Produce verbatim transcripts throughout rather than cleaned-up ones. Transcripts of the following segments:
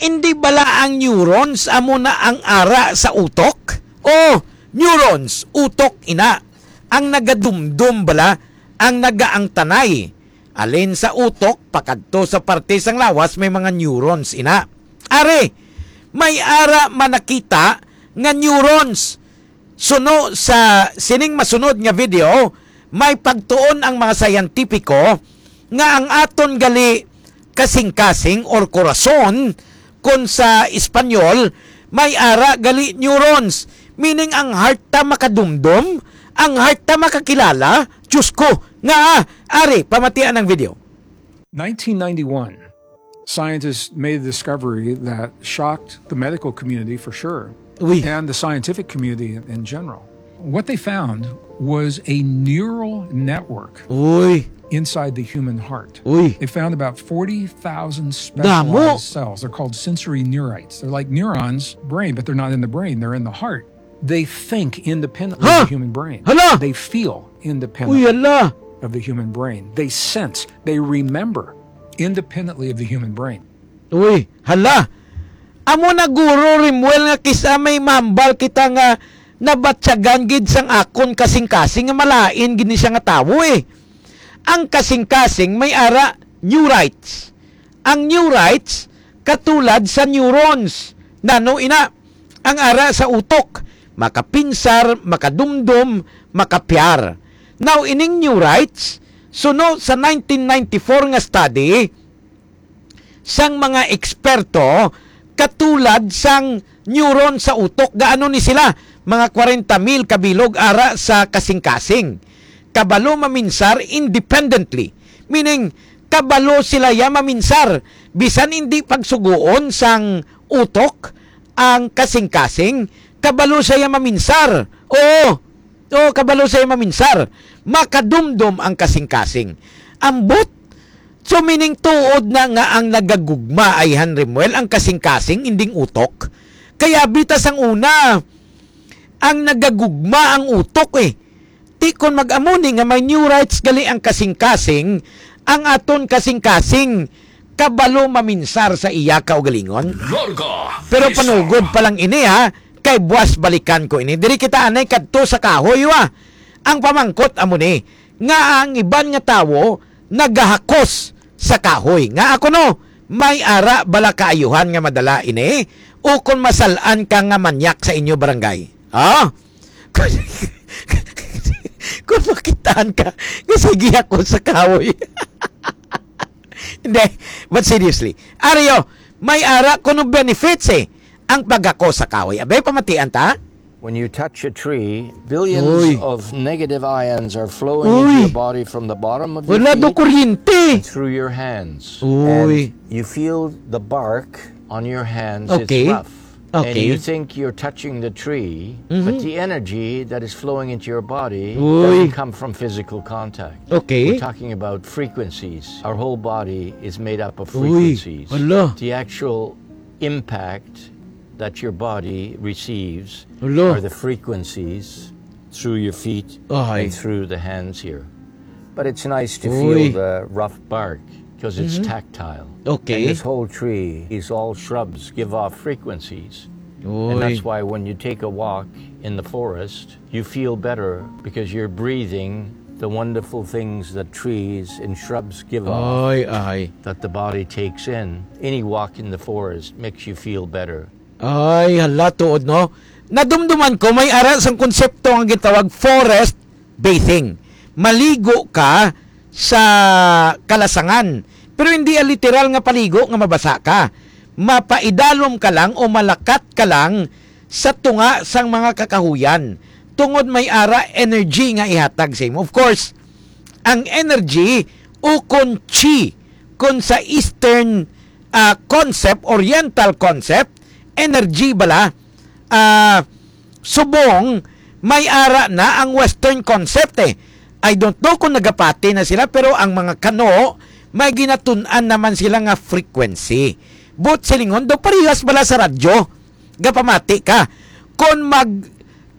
Indi bala ang neurons amo na ang ara sa utok? O, neurons, utok ina, ang nagadumdom bala, ang nagaangtanay. Alin sa utok pakadto sa parte sang lawas may mga neurons ina. Ari, may ara man nakita nga neurons. Suno sa sining masunod nga video, may pagtuon ang mga siyentipiko nga ang aton gali kasing-kasing or korason, kon sa Espanyol, may ara gali neurons, meaning ang heart ta makadumdom, ang heart ta makakilala. Diyos ko, nga, ari, pamatian ang video. nineteen ninety-one, scientists made a discovery that shocked the medical community for sure Uy. and the scientific community in, in general. What they found was a neural network Uy. inside the human heart. Uy. They found about forty thousand Damo. specialized cells. They're called sensory neurites. They're like neurons, brain, but they're not in the brain. They're in the heart. They think independently Huh? of the human brain. Hala! They feel independently Uy, hala. of the human brain. They sense, they remember independently of the human brain. Uy, hala. Amo na, Guro Rimuel, nga kis-a may mambal kita nga nabatyagan gid sang akon kasing-kasing nga malain gid ni siya nga tawo eh. Ang kasing-kasing may ara neurites. Ang neurites katulad sa neurons. Nano ina? Ang ara sa utok, makapinsar, makadumdom, makapyar. Now, ining neurites, suno sa nineteen ninety-four nga study, sang mga eksperto katulad sang neuron sa utok. Gaano ni sila? Mga kwarenta mil kabilog ara sa kasing-kasing. Kabalo maminsar independently. Meaning, kabalo sila ya maminsar. Bisan hindi pagsugoon sang utok ang kasing-kasing, kabalo siya ya maminsar. Oo. Oo, kabalo siya maminsar. Makadumdom ang kasing-kasing. Ambot. So, meaning tuod na nga ang nagagugma ay, han Rimuel, ang kasing-kasing, inding utok. Kaya bita sang una, ang nagagugma ang utok eh. Ti kon mag-amo ni nga may neurites gali ang kasing-kasing, ang aton kasing-kasing kabalo maminsar sa iya kaugalingon. Larga. Pero panugod pa lang ini ha, kay buwas balikan ko ini. Diri kita anay kadto sa kahoy wa. Ang pamangkot amo ni, nga ang iban nga tawo nagahakos sa kahoy. Nga ako no, may ara bala kaayuhan nga madala ini? O kon masal-an ka nga manyak sa inyo barangay? Ha? Kung makitaan ka, nga sige ako sa kahoy. Hindi, but seriously, Ario, may ara kuno benefits eh, ang pagako sa kahoy. Abay, pamatian ta? When you touch a tree, billions Uy. of negative ions are flowing Uy. into your body from the bottom of your Wala do feet kuryente. through your hands. Uy. And you feel the bark on your hands. Okay. It's rough. And Okay. You think you're touching the tree, but the energy that is flowing into your body Uy. doesn't come from physical contact. Okay. We're talking about frequencies. Our whole body is made up of Uy, frequencies. Hala. The actual impact that your body receives Hala. Are the frequencies through your feet Ay. And through the hands here. But it's nice to Uy. Feel the rough bark because it's tactile. Okay. And this whole tree is all shrubs give off frequencies. Uy. And that's why when you take a walk in the forest, you feel better because you're breathing the wonderful things that trees and shrubs give off Ay, ay. That the body takes in. Any walk in the forest makes you feel better. Ay, hala, tuod, no? Nadumduman ko, may ara sang konsepto nga gitawag forest bathing. Maligo ka sa kalasangan. Pero hindi ang literal nga paligo nga mabasa ka. Mapaidalom ka lang o malakat ka lang sa tunga sang mga kakahuyan. Tungod may ara energy nga ihatag sa imo. Of course, ang energy o kon chi, kon sa Eastern ah, concept, Oriental concept, energy bala, ah, subong may ara na ang Western concept eh. I don't know kung nagapati na sila, pero ang mga kano, may ginatun-an naman sila nga frequency. But silingon daw, parehas bala sa radyo, gapamati ka. Kon mag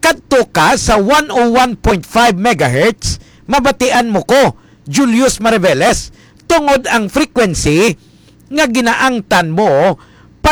kadto ka sa one oh one point five megahertz, mabatian mo ko, Julius Mariveles, tungod ang frequency nga ginaangtan mo